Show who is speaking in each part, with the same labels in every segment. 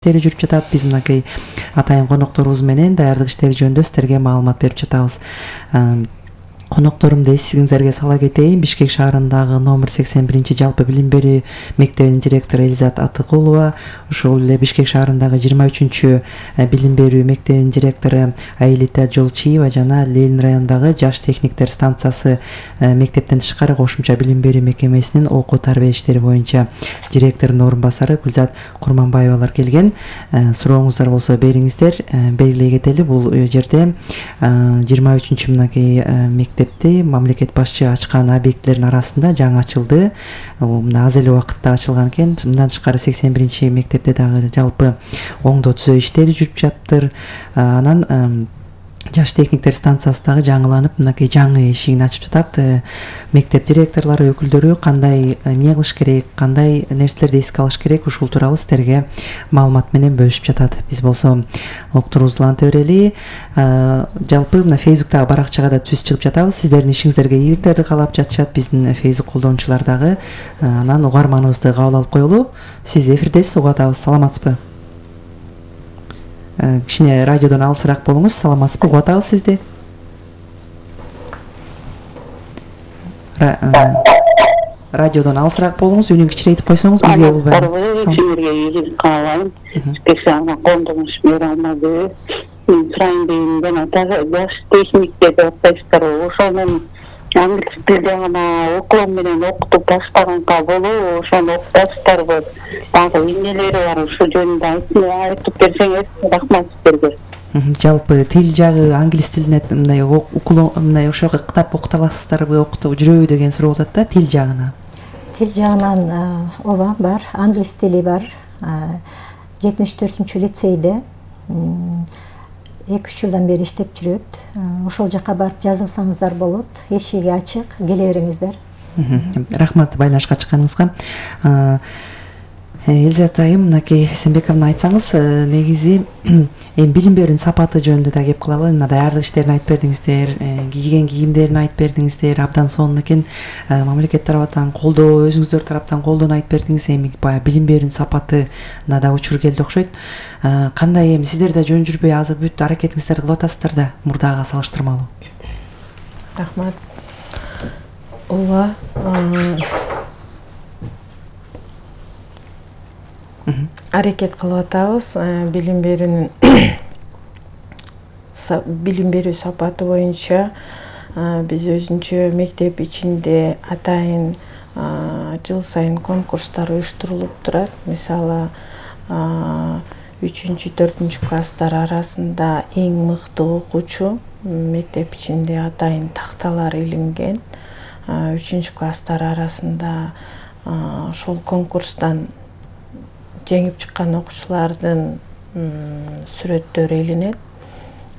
Speaker 1: иштери жүрүп жатат. Биз мынакей атайын конокторубуз менен даярдык иштери жөнүндө сиздерге маалымат берип жатабыз. Конокторумду эсиңиздерге сала кетейин. Бишкек шаарындагы номер 81 жалпы билим берүү мектебинин директору Элизат Атыкулова, ошол эле Бишкек шаарындагы 23 билим берүү мектебинин директору Аилита Жолчиева жана Ленин районундагы жаш техниктер станциясы мектептен тышкары кошумча билим берүү мекемесинин окуу тарбия иштери боюнча директорунун орун басары Гүлзат Курманбаевалар келген. Сурооңуздар болсо бериңиздер. Белгилей кетели, бул жерде 23 мынакей мектепти мамлекет башчы ачкан объектилердин арасында жаңы ачылды. Мына аз эле убакытта ачылган экен. Мындан тышкары 81 мектепте дагы жалпы оңдоо түзөө иштери жүрүп жатыр. Анан жаш техниктер станциясы дагы жаңыланып, мынакей жаңы эшигин ачып жатат. Мектеп директорлору, өкүлдөрү кандай эмне кылыш керек, кандай нерселерди эске алыш керек, ушул тууралуу сиздерге маалымат менен бөлүшүп жатат. Биз болсо уктуруубузду уланта берели. Жалпы мына Фейсбуктагы баракчага да түз чыгып жатабыз. Сиздердин ишиңиздерге ийгиликтерди каалап жатышат биздин Фейсбук колдонуучулар дагы. Анан угарманыбызды кабыл алып коелу. Сиз эфирдесиз, угуп атабыз. Саламатсызбы? Кичине радиодон алысыраак болуңуз. Саламатсызбы? Угуп атабыз сизди. Радиодон алысыраак болуңуз, үнүн кичирейтип койсоңуз бизге болбойт.
Speaker 2: Сиздерге ийгилик каалайм. Специально кондугуш бере алмады. Мен сурайын дегенден жаш техниктер деп атпайсыздар, ошонун англис тилде гана уклон менен окутуп баштаганга болобу, ошону окутасыздарбы? Дагы эмнелери бар, ушул жөнүндө айтып берсеңиз, рахмат сиздерге.
Speaker 1: Жалпы тил жагы англис тилине мындай уклон мындай ошого кытап окута аласыздарбы, окутуп жүрөбү деген суроо болот да, тил жагынан.
Speaker 3: Тил жагынан ооба бар, англис тили бар. 74 лицейде 2-3 жылдан бери иштеп жүрөт. Ошол жака барып жазылсаңыздар болот. Эшиги ачык, келе бериңиздер.
Speaker 1: Рахмат байланышка чыкканыңызга. Элизат айым, мынакей Эсенбековна айтсаңыз, негизи билим берүүнүн сапаты жөнүндө да кеп кылалы. Мына даярдык иштерин айтып бердиңиздер, кийген кийимдерин айтып бердиңиздер, абдан сонун экен. Мамлекет тараптан колдоо, өзүңүздөр тараптан колдоону айтып бердиңиз. Эми баягы билим берүүнүн сапатына да учур келди окшойт. Кандай эми сиздер да жөн жүрбөй азыр бүт аракетиңиздерди кылып атасыздар да, мурдага салыштырмалуу.
Speaker 4: Рахмат. Ооба. Аракет кылып атабыз. Билим берүү сапаты боюнча биз өзүнчө мектеп ичинде атайын жыл сайын конкурстар уюштурулуп турат. Мисалы 3-4 класстар арасында эң мыкты окуучу мектеп ичинде атайын такталар илинген. 3 класстар арасында ошол конкурстан жеңип чыккан окуучулардын сүрөттөрү илинет.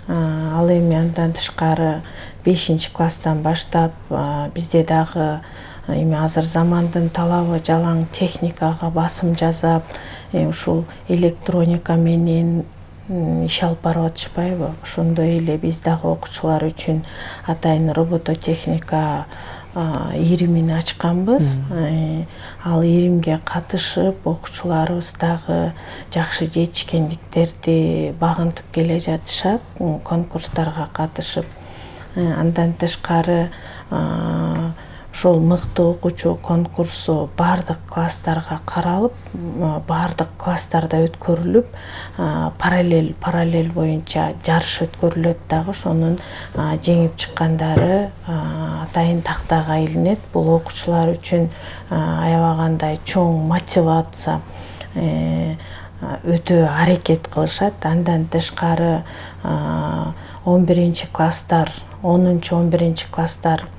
Speaker 4: Ал эми андан тышкары 5-класстан баштап бизде дагы эми азыр замандын талабы жалаң техникага басым жасап, ушул электроника менен иш алып барып атышпайбы? Ошондой эле биз дагы окуучулар үчүн атайын робототехника иримин ачканбыз. Ал иримге катышып, окуучуларыбыз дагы жакшы жетишкендиктерди багынтып келе жатышат, конкурстарга катышып. Андан тышкары ошол мыкты окуучу конкурсу бардык класстарга каралып, бардык класстарда өткөрүлүп, параллель боюнча жарыш өткөрүлөт дагы. Ошонун жеңип чыккандары атайын тактага илинет. Бул окуучулар үчүн аябагандай чоң мотивация, өтө аракет кылышат. Андан тышкары 11-класстар 10-11 класстар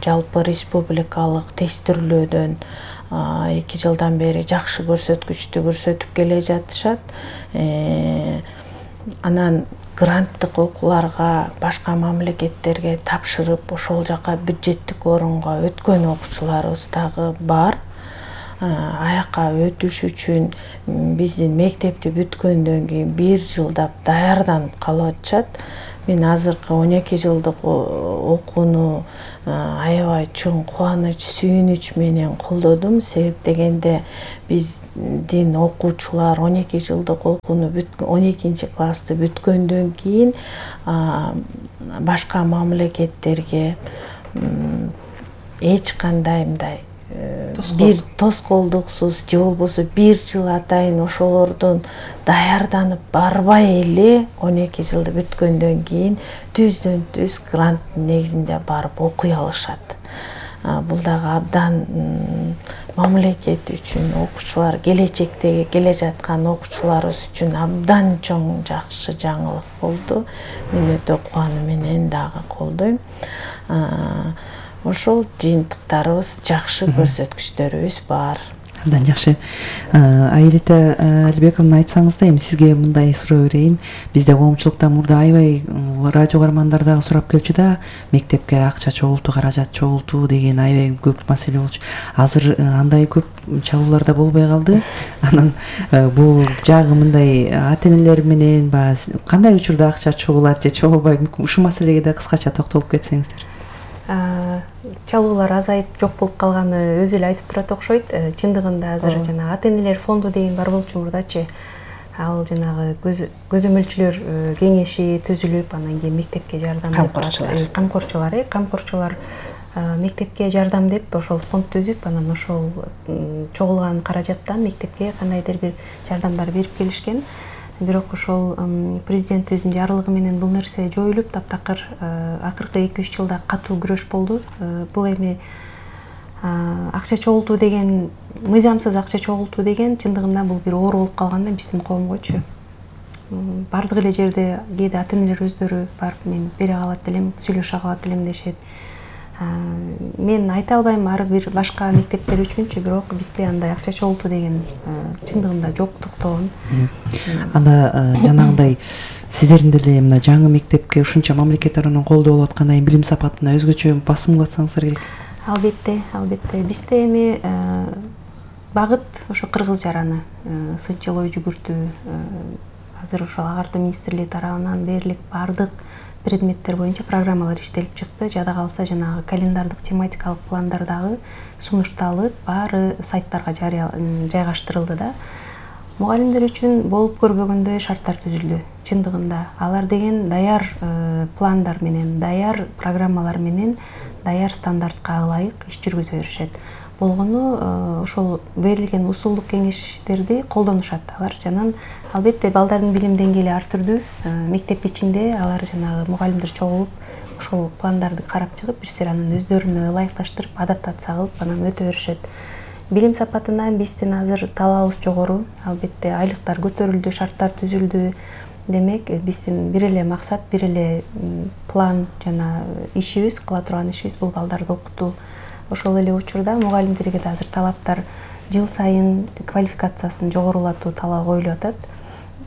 Speaker 4: жалпы республикалык тестирлөөдөн 2 жылдан бери жакшы көрсөткүчтү көрсөтүп келе жатышат. Анан гранттык окууларга башка мамлекеттерге тапшырып, ошол жака бюджеттик орунга өткөн окуучуларыбыз дагы бар. Аяка өтүш үчүн биздин мектепти бүткөндөн кийин 1 жылдап даярданып калып атышат. мен азыркы 12 жылдык окууну аябай чоң кубаныч, сүйүнүч менен колдодум. Себеп дегенде биздин окуучулар 12 жылдык окууну 12 классты бүткөндөн кийин башка мамлекеттерге эч кандай мындай бир тоскоолдуксуз же болбосо 1 жыл атайын ошолордон даярданып барбай эле 12 жылды бүткөндөн кийин түздөн түз гранттын негизинде барып окуй алышат. Бул дагы абдан мамлекет үчүн, окуучулар, келечектеги келе жаткан окуучуларыбыз үчүн абдан чоң жакшы жаңылык болду. Мен өтө кубануу менен дагы колдойм. Ошол жыйынтыктарыбыз жакшы, көрсөткүчтөрүбүз бар.
Speaker 1: Абдан жакшы. Айрита Алибековна, айтсаңыз да, эми сизге мындай суроо берейин. Бизде коомчулуктан мурда аябай радио каармандар дагы сурап келчү да, мектепке акча чогултуу, каражат чогултуу деген аябай көп маселе болчу. Азыр андай көп чалуулар да болбой калды. Анан бул жагы мындай ата-энелер менен кандай учурда акча чогулат же чогулбайт? Ушул маселеге да кыскача токтолуп кетсеңиздер.
Speaker 5: Чалуулар азайып жок болуп калганы өзү эле айтып турат окшойт. Чындыгында азыр жана ата-энелер фонду деген бар болчу мурдачы. Ал жанагы көзөмөлчүлөр кеңеши түзүлүп, анан кийин мектепке жардам деп камкорчулар мектепке жардам деп ошол фонд түзүп, анан ошол чогулган каражаттан мектепке кандайдыр бир жардамдар берип келишкен. Бирок ошол президентибиздин жарлыгы менен бул нерсе жоюлуп, таптакыр акыркы 2-3 жылда катуу күрөш болду. Бул эми акча чогултуу деген, мыйзамсыз акча чогултуу деген чындыгында бул бир оору болуп калган да биздин коомгочу. Бардык эле жерде кээде ата-энелер өздөрү барып мен бере калат элем, сүйлөшө калат элем дешет. Мен айта албайм ар бир башка мектептер үчүнчү, бирок бизде андай акча чогултуу деген чындыгында жок, токтогон.
Speaker 1: Анда жанагындай сиздердин деле мына жаңы мектепке ушунча мамлекет тарабынан колдоо болуп аткандай билим сапатына өзгөчө басым кылсаңыздар керек.
Speaker 5: Албетте. Бизде эми багыт ошо кыргыз жараны, сынчыл ой жүгүртүү, азыр ошол агартуу министрлиги тарабынан берилип бардык предметтер боюнча программалар иштелип чыкты. Жада калса жанагы календардык тематикалык пландар дагы сунушталып, баары сайттарга жайгаштырылды да. Мугалимдер үчүн болуп көрбөгөндөй шарттар түзүлдү. Чындыгында алар деген даяр пландар менен, даяр программалар менен, даяр стандартка ылайык иш жүргүзө беришет. Болгону ошол берилген усулдук кеңештерди колдонушат алар. Жанан албетте балдардын билим деңгээли ар түрдүү. Мектеп ичинде алар жанагы мугалимдер чогулуп, ошол пландарды карап чыгып, бир анан өздөрүнө ылайыкташтырып, адаптация кылып, анан өтө беришет. Билим сапатына биздин азыр талабыбыз жогору. Албетте айлыктар көтөрүлдү, шарттар түзүлдү. Демек, биздин бир эле максат, бир эле план жана ишибиз, кыла турган ишибиз бул балдарды окутуу. Ошол эле учурда мугалимдерге да азыр талаптар жыл сайын квалификациясын жогорулатуу талабы коюлуп атат.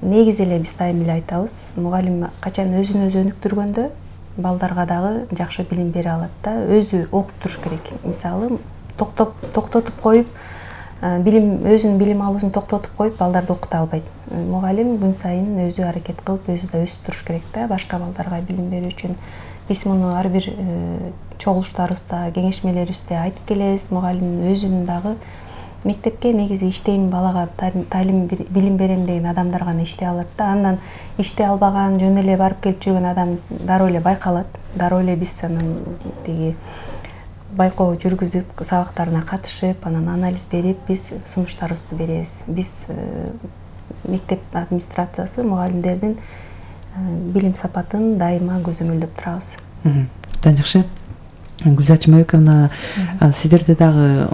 Speaker 5: Негизи эле биз дайым эле айтабыз, мугалим качан өзүн өзү өнүктүргөндө балдарга дагы жакшы билим бере алат да, өзү окуп туруш керек. Мисалы, токтотуп коюп, өзүнүн билим алуусун токтотуп коюп, балдарды окута албайт. Мугалим күн сайын өзү аракет кылып, өзү да өсүп туруш керек да, башка балдарга билим берүү үчүн. Биз муну ар бир чогулуштарыбызда, кеңешмелерибизде айтып келебиз. Мугалим өзүнүн дагы мектепке негизи иштейм, балага талим, билим берем деген адамдар гана иштей алат да. Андан иштей албаган, жөн эле барып келип жүргөн адам дароо эле байкалат. Дароо эле биз анан тиги байкоо жүргүзүп, сабактарына катышып, анан анализ берип, биз сунуштарыбызды беребиз. Биз мектеп администрациясы мугалимдердин билим сапатын дайыма көзөмөлдөп турабыз.
Speaker 1: Абдан жакшы. Гүлзат Жумабековна, сиздерде дагы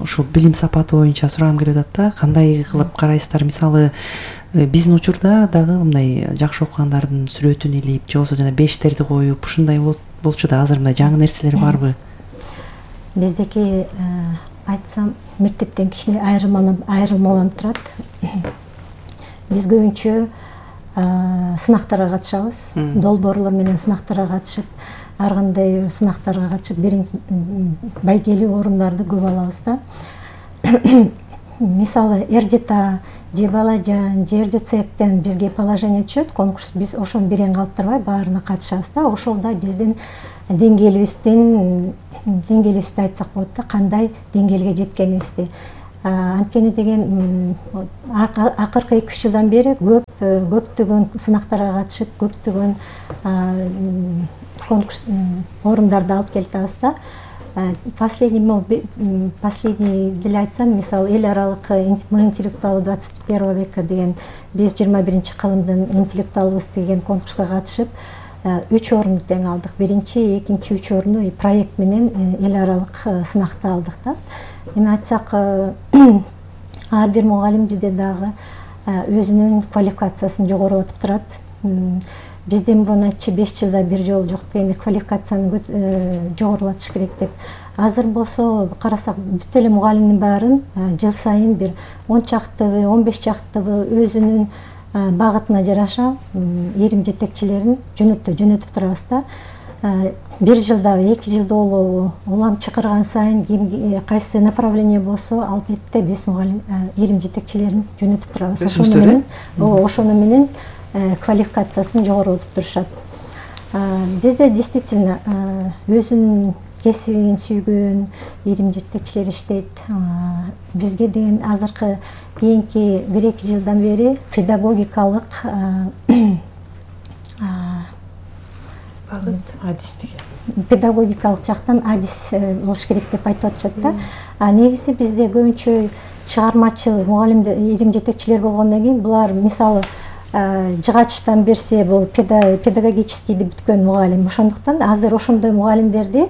Speaker 1: ушул билим сапаты боюнча сурагым келип атат да, кандай кылып карайсыздар? Мисалы, биздин учурда дагы мындай жакшы окугандардын сүрөтүн илип, же болбосо жана бештерди коюп, ушундай болчу да. Азыр мындай жаңы нерселер барбы?
Speaker 3: Биздеки айтсам, мектептен кичине айырмаланып турат. Биз көбүнчө сынактарга катышабыз. Долбоорлор менен сынактарга катышып, ар кандай сынактарга катышып, байгелүү орундарды көп алабыз да. Мисалы, РДТ же балажан жерди цехтен бизге положение түшөт, конкурс, биз ошону берен калтырбай баарына катышабыз да. Ошол да биздин деңгээлибизди айтсак болот да, кандай деңгээлге жеткенибизди. Анткени деген акыркы 2-3 жылдан бери көптөгөн сынактарга катышып, көптөгөн конкурс орундарды алып келатабыз да. Последний деле айтсам, мисалы эл аралык мы интеллектуалы 21 века деген, биз 21 кылымдын интеллектуалыбыз деген конкурска катышып 3 орунду тең алдык. Биринчи, экинчи, 3 орунду проект менен эл аралык сынакта алдык да. Эми айтсак, ар бир мугалим бизде дагы өзүнүн квалификациясын жогорулатып турат. Бизде мурун айтчы 5 жылда бир жолу жок дегенде квалификацияны жогорулатыш керек деп. Азыр болсо карасак бүт эле мугалимдин баарын жыл сайын бир 10 чактыбы, 15 чактыбы өзүнүн багытына жараша ирим жетекчилерин жөнөтүп турабыз да. Бир жылда, 2 жылда болобу, улам чакырган сайын кайсы направление болсо, албетте биз мугалим ирим жетекчилерин жөнөтүп турабыз. Ошону менен квалификациясын жогорулатып турушат. Бизде действительно өзүнүн кесибин сүйгөн ирим жетекчилер иштейт. Бизге деген азыркы кийинки 1-2 жылдан бери педагогикалык педагогикалык жактан адис болуш керек деп айтып атышат да. Негизи бизде көбүнчө чыгармачыл мугалимдер, ирим жетекчилер болгондон кийин булар мисалы жыгачтан берсе бул педагогическийди бүткөн мугалим. Ошондуктан азыр ошондой мугалимдерди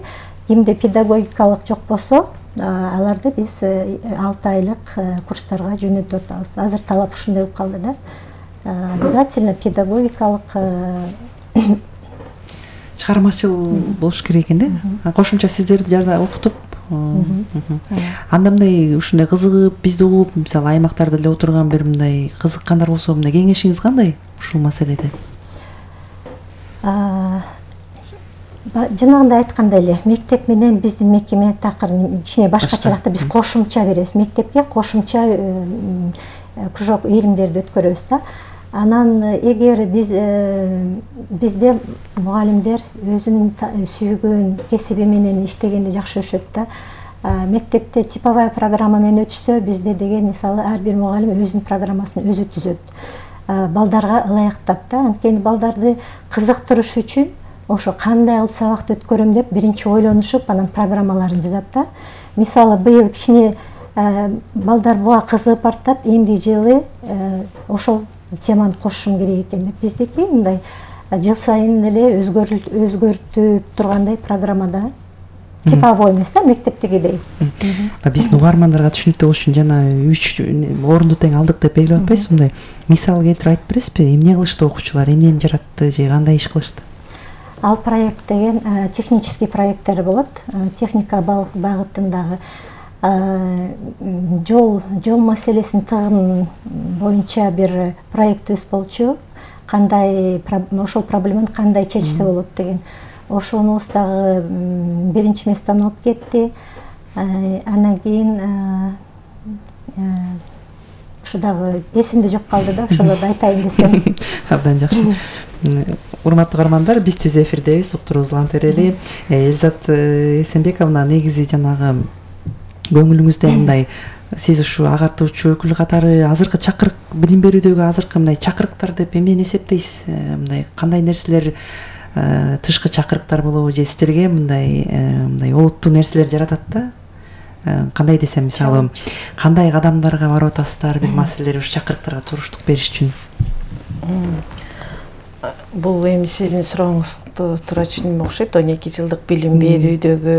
Speaker 3: кимде педагогикалык жок болсо, аларды биз 6 айлык курстарга жөнөтүп атабыз. Азыр талап ушундай болуп калды да. Обязательно педагогикалык
Speaker 1: чыгармачыл болуш керек экен да. Кошумча сиздерди жада окутуп, анда мындай ушундай кызыгып, бизди угуп, мисалы аймактарда эле отурган бир мындай кызыккандар болсо, мындай кеңешиңиз кандай ушул маселеде?
Speaker 3: Жанагындай айткандай эле, мектеп менен биздин мекеме такыр кичине башкачараак. Биз кошумча беребиз, мектепке кошумча кружок иримдерди өткөрөбүз да. Анан эгер бизде мугалимдер өзүнүн сүйгөн кесиби менен иштегенди жакшы өшөт да. Мектепте типовая программа менен өтүшсө, бизде деген мисалы ар бир мугалим өзүнүн программасын өзү түзөт. Балдарга ылайыктап да, анткени балдарды кызыктырыш үчүн ошо кандай кылып сабакты өткөрөм деп биринчи ойлонушуп, анан программаларын жазат да. Мисалы быйыл кичине балдар буга кызыгып бартат, эмди жылы ошол теманы кошушум керек экен деп. Биздики мындай жыл сайын эле өзгөртүп тургандай программада, типовой эмес да, мектептегидей.
Speaker 1: Биздин угармандарга түшүнүктүү болуш үчүн жана 3 орунду тең алдык деп белгилеп атпайсызбы? Мындай мисал келтирип айтып бересизби? Эмне кылышты окуучулар, эмнени жаратты же кандай иш кылышты?
Speaker 3: Ал проект деген технический проекттер болот. Техника багытындагы жол маселесин тыгын боюнча бир проектибиз болчу. Кандай ошол проблеманы кандай чечсе болот деген. Ошонубуз дагы биринчи месттен алып кетти. Анан кийин ушу дагы эсимде жок калды да, ошолорду айтайын десем.
Speaker 1: Абдан жакшы. Урматтуу угармандар, биз түз эфирдебиз, уктуруубузду улантырели. Элизат Эсенбековна, негизи жанагы көңүлүңүздө мындай сиз ушу агартуучу өкүл катары азыркы чакырык, билим берүүдөгү азыркы мындай чакырыктар деп эмнени эсептейсиз? Мындай кандай нерселер тышкы чакырыктар болобу же сиздерге мындай олуттуу нерселер жаратат да? Кандай десем, мисалы, кандай кадамдарга барып атасыздар бир маселелер ушу чакырыктарга туруштук бериш үчүн?
Speaker 4: Бул эми сиздин сурооңузду туура түшүнүм окшойт. 12 жылдык билим берүүдөгү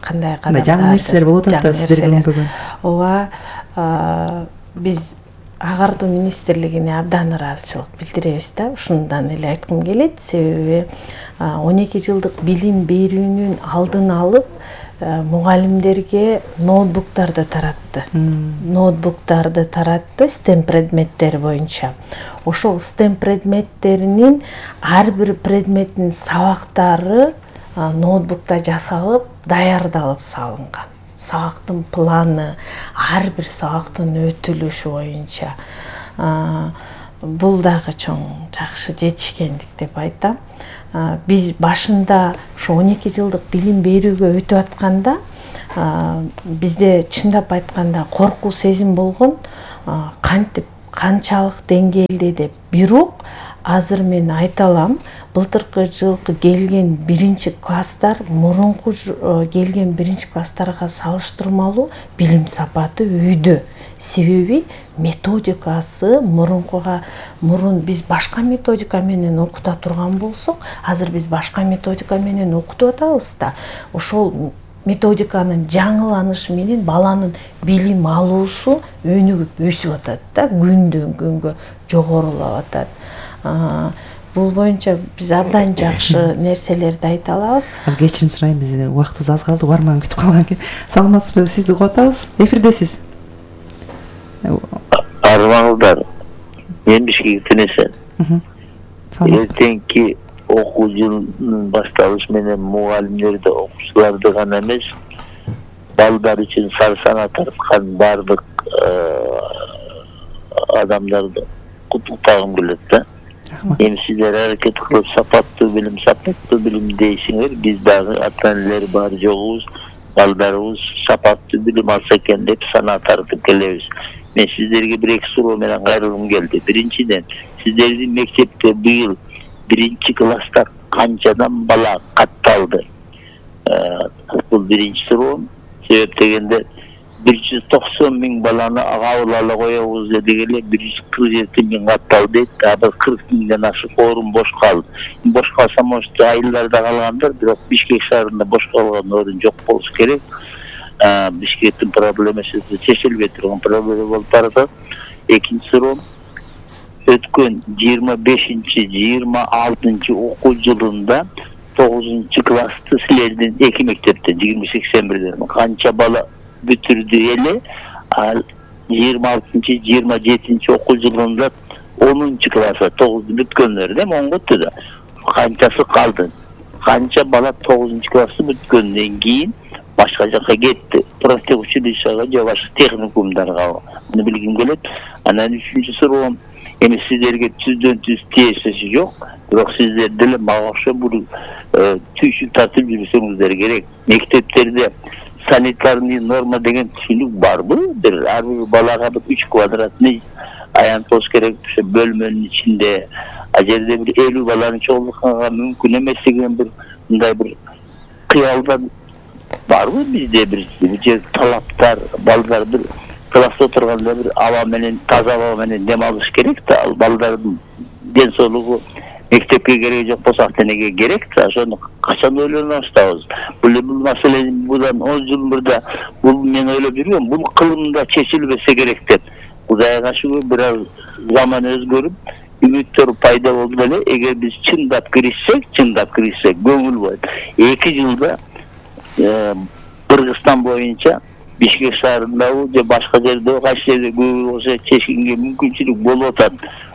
Speaker 4: кандай кадамдар,
Speaker 1: жаңы нерселер болуп атат да сиздерге билинбеген?
Speaker 4: Ооба, биз агартуу министрлигине абдан ыраазычылык билдиребиз да. Ушундан эле айткым келет, себеби 12 жылдык билим берүүнүн алдын алып мугалимдерге ноутбуктарды таратты. Ноутбуктарды таратты STEM предметтери боюнча. Ошол STEM предметтеринин ар бир предметтин сабактары ноутбукта жасалып, даярдалып салынган. сабактын планы, ар бир сабактын өтүлүшү боюнча бул дагы чоң жакшы жетишкендик деп айтам. Биз башында ушу 12 жылдык билим берүүгө өтүп атканда бизде чындап айтканда коркуу сезим болгон, кантип канчалык деңгээлде деп. Бирок азыр мен айта алам, былтыркы жылкы келген 1-класстар мурунку келген 1-класстарга салыштырмалуу билим сапаты үйдө. Себеби методикасы мурун биз башка методика менен окута турган болсок, азыр биз башка методика менен окутуп атабыз да. Ошол методиканын жаңыланышы менен баланын билим алуусу өнүгүп өсүп атат да, күндөн күнгө жогорулап атат. Бул боюнча биз абдан жакшы нерселерди айта алабыз.
Speaker 1: Кечирим сурайм, биз убактыбыз аз калды, угарман күтүп калган экен. Саламатсызбы, сизди угуп атабыз. Эфирдесиз.
Speaker 6: Армаңыздар, мен Бишкектен эсен. Эртеңки окуу жылынын башталышы менен мугалимдерди, окуучуларды гана эмес, балдар үчүн сарсана тарткан бардык адамдарды куттуктагым келет да. Эми сиздер аракет кылып сапаттуу билим дейсиңер, биз дагы ата-энелер бар жогубуз, балдарыбыз сапаттуу билим алса экен деп сана тартып келебиз. Мен сиздерге бир-эки суроо менен кайрылгым келди. Биринчиден, сиздердин мектепте быйыл 1-класста канчадан бала катталды? Бул биринчи суроом. Себеп дегенде 190 миң баланы кабыл ала коебуз дедик эле, 147 миң катталды дейт. Бир 40 миңден ашык орун бош калды. Бош калса, может, айылдарда калгандар, бирок Бишкек шаарында бош калган орун жок болуш керек. Бишкектин проблемасы чечилбей турган проблема болуп баратат. Экинчи суроо, өткөн 25-26 окуу жылында 9-классты силердин эки мектептен 2081ден канча бала бүтүрдү эле? 26-27 окуу жылында 10-класса 9 бүткөндөр эми 10 өттү да. Канчасы калды? Канча бала 9-классы бүткөндөн кийин башка жакка кетти? Профтехучилищага же башка техникумдарга. Муну билгим келет. Анан үчүнчү суроом, эми сиздерге түздөн-түз тиешеси жок, бирок сиздер деле мага окшоп бул түйшүк тартып жүрсөңүздөр керек. Мектептерде санитарный норма деген түшүнүк барбы? Ар бир балага 3 квадратный аянт болуш керек, ошо бөлмөнүн ичинде. А жерде бир 50 баланы чогултканга мүмкүн эмес деген бир мындай бир кыялдан барбы бизде бир талаптар? Балдар бир класста отурганда бир аба менен, таза аба менен дем алыш керек да. Ал балдардын ден соолугу мектепке кереги жок болсо ата-энеге керек да. Ошону качан ойлоно баштабыз? Бул маселе будан 10 жыл мурда бул мен ойлоп жүргөм, бул кылымда чечилбесе керек деп. Кудайга шүгүр, бир аз заман өзгөрүп, үмүттөр пайда болду эле. Эгер биз чындап киришсек, көңүл болот. 2 жылда Кыргызстан боюнча Бишкек шаарындагы же башка жерде кайсы жерде көбү болсо чечкенге мүмкүнчүлүк болуп атат.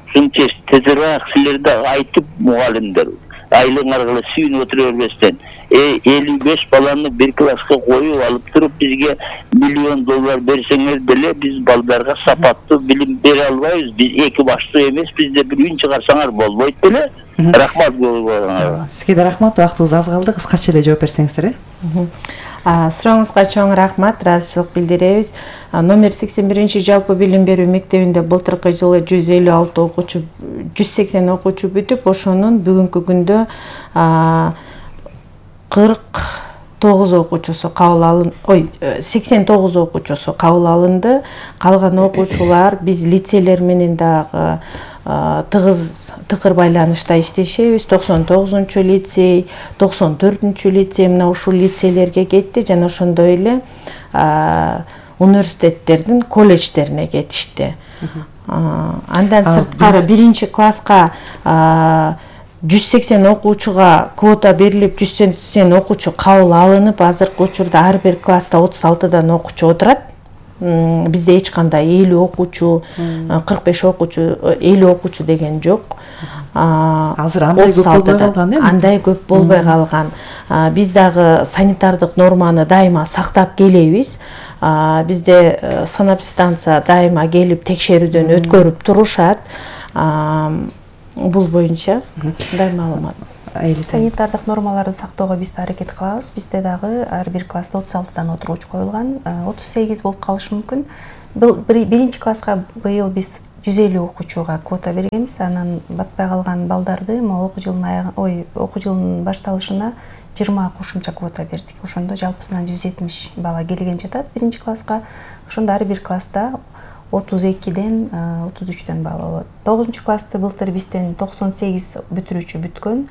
Speaker 6: Ушуну тезирээк силерде айтып, мугалимдер айлыңарга сүйүнүп отура бербестен, 55 баланы бир класска коюп алып туруп бизге $1 миллион берсеңер деле биз балдарга сапаттуу билим бере албайбыз. Биз эки баштуу эмес, бизде бир үн чыгарсаңар болбойт беле? Рахмат болуңар.
Speaker 1: Сизге да рахмат, убактыбыз аз калды, кыскача эле жооп берсеңиздер.
Speaker 4: Сурооңузга чоң рахмат, ыраазычылык билдиребиз. Номер 81 жалпы билим берүү мектебинде былтыркы жылы 156 окуучу, 180 окуучу бүтүп, ошонун бүгүнкү күндө 49 окуучусу кабыл алынды, 89 окуучусу кабыл алынды. Калган окуучулар биз лицейлер менен дагы тыгыр байланышта иштешебиз. 99 лицей, 94 лицей мына ушул лицейлерге кетти, жана ошондой эле университеттердин колледждерине кетишти. Андан сырткары 1-класска 180 окуучуга квота берилип, 180 окуучу кабыл алынып, азыркы учурда ар бир класста 36 окуучу отурат. бизде эч кандай 50 окуучу, 45 окуучу, 50 окуучу деген жок.
Speaker 1: Азыр андай көп болбой калган,
Speaker 4: андай көп болбой калган. Биз дагы санитардык норманы дайыма сактап келебиз. Бизде санэпидстанция дайыма келип текшерүүдөн өткөрүп турушат. Бул боюнча мындай маалымат.
Speaker 5: Санитардык нормаларды сактоого биз да аракет кылабыз. Бизде дагы ар бир класста 36 отургуч коюлган, 38 болуп калышы мүмкүн. Биринчи класска быйыл биз 150 окуучуга квота бергенбиз. Анан батпай калган балдарды окуу жылынын башталышына 20 кошумча квота бердик. Ошондо жалпысынан 170 бала келген жатат биринчи класска. Ошондо ар бир класста 32ден 33ден бала болот. 9 классты былтыр бизден 98 бүтүрүүчү бүткөн.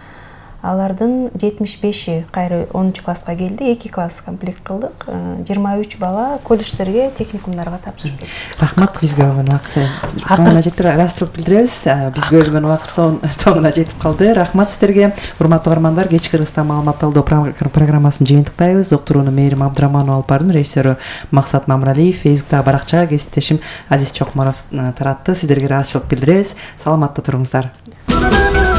Speaker 5: Алардын 75и кайра 10 класска келди. 2 класс комплект кылдык. 23 бала колледждерге, техникумдарга тапшырып берди.
Speaker 1: Рахмат, бизге болгон убакыт соңуна жетти. Ыраазычылык билдиребиз. Бизге бөлгөн убакыт соңуна жетип калды. Рахмат сиздерге. Урматтуу угармандар, кечки Кыргызстан маалымат талдоо программасын жыйынтыктайбыз. Уктурууну Мээрим Абдыраманова алып бардым, режиссеру Максат Мамралиев, Фейсбуктагы баракчага кесиптешим Азиз Чокморов таратты. Сиздерге ыраазычылык билдиребиз. Саламатта туруңуздар.